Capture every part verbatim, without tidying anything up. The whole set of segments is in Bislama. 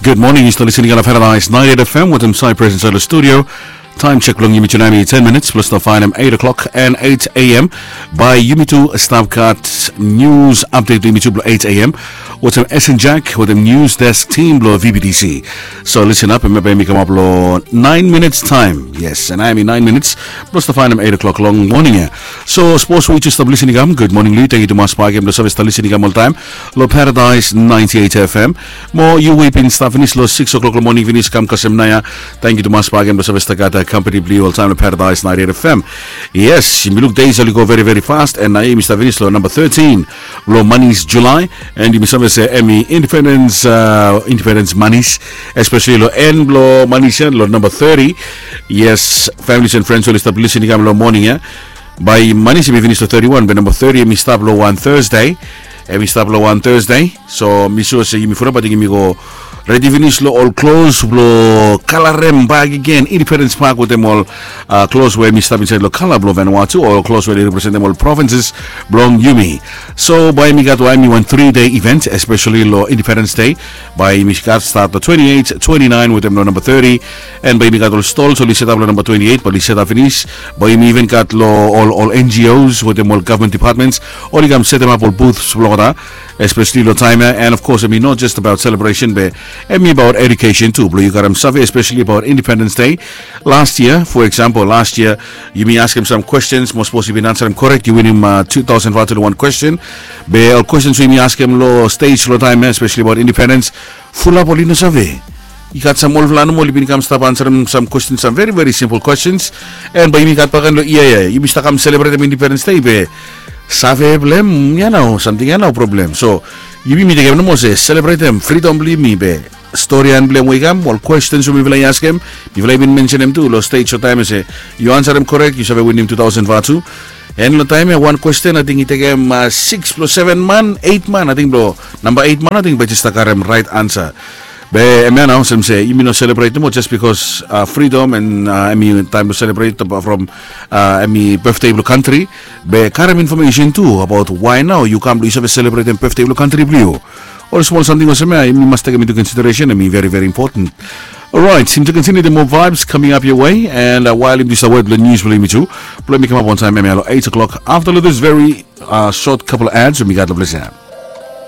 Gud moning, yu stap listening long Paradise ninety-eight F M wetem Cyprus insait long studio. Taem sek blong yumi tu nao hemi ten minits blong stap faenem eight o'clock and eight A M. Bae yumi tu stap gat nius apdet blong yumi tu blong eight A M wetem Esen Jack wetem nius desk tim blong V B T C. So listen up, hemia bae hemi kamap long nine minutes taem. Yes, and hemi nine minutes blong stap faenem eight o'clock long moning ia. So sapos we yu stap listening, gud moning long yu. Tangkiu tumas bakegen blong save stap listening oltaem long Paradise ninety-eight F M. Mo yu we yu bin stap finis long six o'clock long moning finis kam kasem naoia, tangkiu tumas bakegen blong save stap gat kampani blong yu oltaem long Paradise ninety-eight F M. Yes, yumi luk dei oli go veri veri fast, and naoia yumi stap finis long namba thirteen blong manis Julae, and yumi save se hemi indipendens, indipendens manis, espeseli long en blong manis ia long namba thirty. Yes, families and friends oli stap listening long moning ia. Bae manis hemi finis long thirty-one, be namba thirty hemi stap long wan Thursday. Hemi stap long wan Thursday. So mi sua se yumi fulap ating yumi go redi finis long ol klos blong kalarem bakegen Independence Park wetem ol klos we hemi stap insaed long kala blong Vanuatu, ol klos we oli representem ol provinces blong yumi. So bae yumi gat, bae hemi wan tri dei event, espeseli long Independence Day. Bae yumi gat stat long twenty-eight, twenty-nine wetem long namba thirty. And bae yumi gat ol stols oli setap long namba twenty-eight bae oli setap finis. Bae yumi even gat long ol, ol N G Os wetem ol gavman departments oli kam setemap ol booths blong olgeta, espeseli long taem ia. And of course hemi not just about celebration, be hemi about education tu blong yu karem save, espeseli about Independence Day. Last year, for example, last year yumi askem sam questions, mo sapos yu bin ansarem korek yu winim two thousand vatu long wan question. Be ol questions we yumi askem long stage long taem ia, espeseli about independence, fulap oli no save. I gat sam olfala nomo oli bin kam stap ansarem sam questions, sam veri veri simpol questions. And bae yumi gat bakegen long yia ia yumi stap kam selebretem Independence Day, be save blong hem ia nao, samting ia nao problem. So yumi mi tekem nomo se selebretem fridom blong yumi, be storian blong hem we i kam, ol questions we mifala i askem, mifala i bin mensenem tu long stage long taem ia se yu ansarem korek yu save winim two thousand vatu. And long taem ia wan question ating i tekem six blong seven man, eight man, ating blong namba eight man ating bae jes stap karem raet ansa. Be hemia nao olsem se yumi no selebret nomo just bikos fridom and hemi taem blong selebret from hemi betde blong kantri. Be karem infomesen tu abaot wae nao yu kam blong yu save selebretem betde blong kantri blong yu. Ol smol samting olsem ia yumi mas tekem into consideration, hemi veri veri impoten. Orait, yumi tu kontiniu the more vibes coming up your way, and wael yumi tu stap wet blong nius blong yumi tu blong hemi kamap wantaem hemia long eight o'clock afta long this very short couple ads we mi gat long ples ia.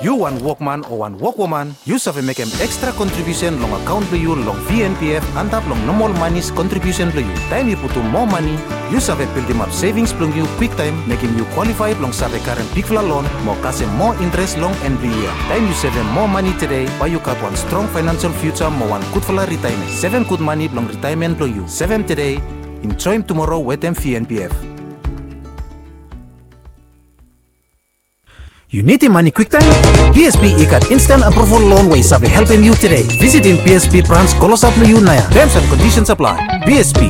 Yu wan wokman o wan wokwoman, yu save mekem ekstra kontribiusen long akaon blong yu long V N P F antap long nomol manis kontribiusen blong yu. Taem yu putum moa mane, yu save bildimap sevings blong yu kwiktaem, mekem yu kwalifae blong save karem bigfala lon mo kasem moa intres long en blong yia. Taem yu sevem moa mane tede, bae yu gat wan strong faenansel fiuja mo wan gudfala ritaemen. Sevem gud mane blong ritaemen blong yu. Sevem tede, enjoem tumoro wetem V N P F. Yu nidim mane kwiktaem? B S P i gat instan aproval lon we i save helpem yu tede. Visitim B S P brans klosap long yu naoia. Terms and conditions apply. B S P,